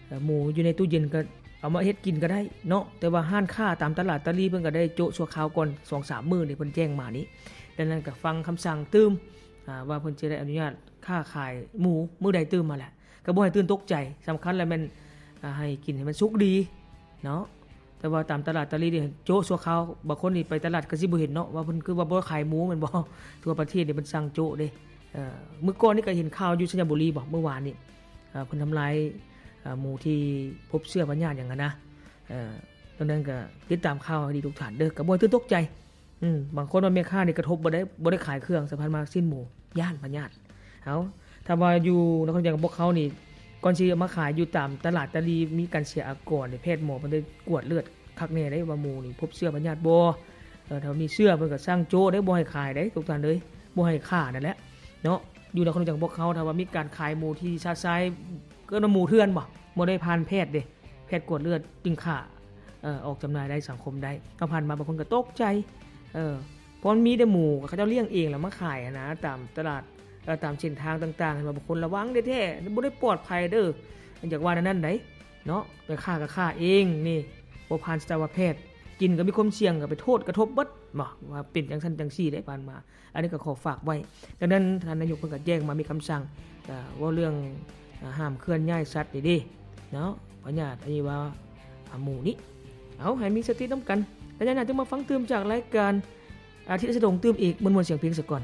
ເອີ ໝູຢູ່ໃນຕູ້ເຢັນກໍເອົາມາເຮັດກິນກໍໄດ້ເນາະ, ແຕ່ວ່າຮ້ານຄ້າຕາມຕະຫຼາດຕະຫຼີ່ເພິ່ນກໍໄດ້ໂຈະຊົ່ວຄາວກ່ອນສອງສາມມື້ນີ້ ເພິ່ນແຈ້ງມານີ້. ດັ່ງນັ້ນກໍຟັງຄຳສັ່ງຕື່ມ ອາ ວ່າເພິ່ນຈະໄດ້ອະນຸຍາດຄ້າຂາຍໝູມື້ໃດຕື່ມມາແຫຼະ, ກໍບໍ່ໃຫ້ຕື່ນຕົກໃຈ. ສຳຄັນລະແມ່ນ ອາ ໃຫ້ກິນໃຫ້ມັນສຸກດີເນາະ. ແຕ່ວ່າຕາມຕະຫຼາດຕະຫຼີ່ນີ້ໂຈະຊົ່ວຄາວ, ບາງຄົນນີ້ໄປຕະຫຼາດກໍຊິບໍ່ເຫັນເນາະ ວ່າເພິ່ນຄືວ່າບໍ່ຂາຍໝູແມ່ນບໍ່? ທົ່ວປະເທດນີ້ເພິ່ນສັ່ງໂຈະເດ້. ເອີ ມື້ກ່ອນນີ້ກໍເຫັນຂ່າວຢູ່ໄຊຍະບູລີບໍ ມື້ວານນີ້ ເອີ ເພິ່ນທຳລາຍ ເອີ ໝູທີ່ພົບເຊື້ອພະຍາດຫຍັງຫັ້ນນະ. ເອີ ດັ່ງນັ້ນກໍຕິດຕາມຂ່າວໃຫ້ດີທຸກທ່ານເດີ, ກໍບໍ່ໃຫ້ຕື່ນຕົກໃຈ. ອືມ ບາງຄົນວ່າແມ່ຄ້ານີ້ກະທົບບໍ່ໄດ້ ບໍ່ໄດ້ຂາຍເຄື່ອງ ສະພັນມາຊີ້ນໝູ ຢ້ານພະຍາດ. ເອົາ ຖ້າວ່າຢູ່ນະຄອນຫຼວງພວກເຮົານີ້ ກ່ອນຊິເອົາມາຂາຍຢູ່ຕາມຕະຫຼາດຕະຫຼີ່ ມີການເສຍອາກອນນີ້ ແພດໝໍເພິ່ນໄດ້ກວດເລືອດຄັກແນ່ເດ້ ວ່າໝູນີ້ພົບເຊື້ອພະຍາດບໍ່. ເອີ ຖ້າມີເຊື້ອເພິ່ນກໍສັ່ງໂຈະເດ້ ບໍ່ໃຫ້ຂາຍເດ້ທຸກທ່ານເອີຍ, ບໍ່ໃຫ້ຂ້ານັ້ນແຫຼະເນາະ. ຢູ່ນະຄອນຫຼວງພວກເຮົາ ຖ້າວ່າມີການຂາຍໝູທີ່ຊະຊາຍ ເອີ້ນວ່າໝູເຖື່ອນບໍ່ ບໍ່ໄດ້ຜ່ານແພດເດ້, ແພດກວດເລືອດຈຶ່ງຂ້າ ເອີ ອອກຈຳໜ່າຍໄດ້ ສັງຄົມໄດ້. ເຮົາຜ່ານມາບາງຄົນກໍຕົກໃຈ ເອີ ເພາະມັນມີແຕ່ໝູ ເຂົາເຈົ້າລ້ຽງເອງແລ້ວມາຂາຍຫັ້ນນະ ຕາມຕະຫຼາດ ເອີ ຕາມເສັ້ນທາງຕ່າງໆ ເຫັນວ່າບາງຄົນລະວັງແທ້ໆ ບໍ່ໄດ້ປອດໄພເດີ. ຢາກວ່າແນວນັ້ນໃດເນາະ, ໄປຂ້າກໍຂ້າເອງນີ້ ບໍ່ຜ່ານສັດວະແພດ, ກິນກໍມີຄວາມສ່ຽງ ກໍໄປໂທດກະທົບເບິດ ວ່າເປັນຈັ່ງຊັ້ນຈັ່ງຊີ້ໄດ໋ຜ່ານມາ. ອັນນີ້ກໍຂໍຝາກໄວ້. ດັ່ງນັ້ນທ່ານນາຍົກເພິ່ນກໍແຈ້ງມາ ມີຄຳສັ່ງ ກໍເວົ້າເລື່ອງ ອາ ຫ້າມເຄື່ອນຍ້າຍສັດນີ້ເດ້ເນາະ, ພະຍາດອັນນີ້ວ່າ ອາ ໝູນີ້. ເອົາ ໃຫ້ມີສະຕິນຳກັນ, ໄລຍະໜ້າຈຶ່ງມາຟັງຕື່ມຈາກລາຍການອາທິດສະດົງຕື່ມອີກ. ມ່ວນໆສຽງເພງສາກ່ອນ.